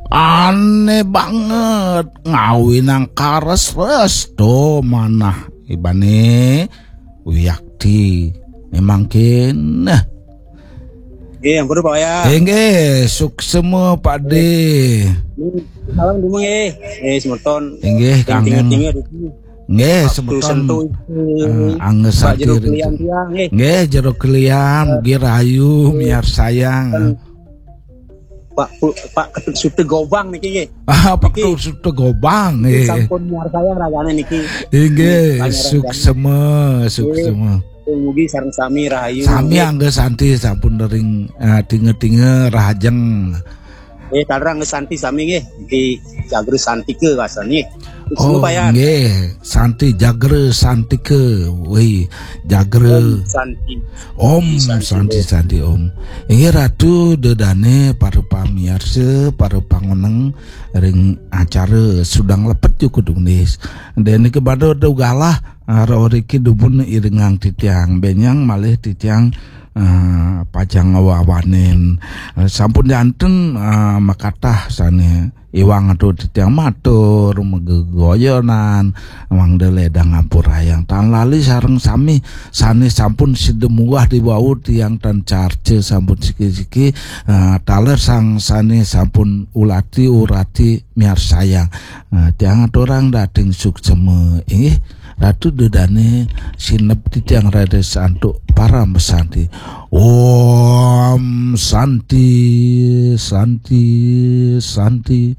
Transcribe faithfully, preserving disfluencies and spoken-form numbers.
Aneh banget, ngawinang kares resto manah ibane wiakti. Memang keneh. Nggih, ampun Pak Wayan. Inggih, suksema Pak De. Salam dulu nggih. Eh, semeton. Inggih, Kangen. kangen. Nggih, semeton. Sentuh. Eh, angge Pak sati Jero rezeki. Kelian tiang nggih. Nggih, Jero Kelian, mugi rahayu miarsayang. Pak Pu- Pak Ketut Sute Gobang niki nggih. Ah, Pak Ketut Sute Gobang, nggih. Sampun miarsayang ragane niki. Inggih, Nggih, suksema, suksema. Mugi sareng sami rahayu. Sami Nggih. Angga Santi sampun ring eh, tinga-tinga rahajeng. Eh, taler Angga Santi sami nggih. Di Jagre Santika kasane. Oh, Pak Yan. Nggih, Santi Jagre Santika. Wih, Jagre. Santi. Om Santi Santi Om. Inggih Ratu dedane para pamiarsa, para pangoneng ring acara Sudang Lepet Jukut Unis. Dene kebado ugalah aro riki dumun iringang titiang benyang malih titiang eh, pajang wawanin. Eh, sampun janten eh, makatah sane iwang atu titiang matur, megegoyonan, mangda ledang ampurayang. Tan lali sareng sami sane sampun sida munggah di wau tiang tan carca sampun siki-siki, eh, taler sang sane sampun ulati urati miarsayang. Eh, tiang aturang dating suksema inggih. Ratu dedane sineb titiang raris antuk parama santi. Om Santi, Santi, Santi.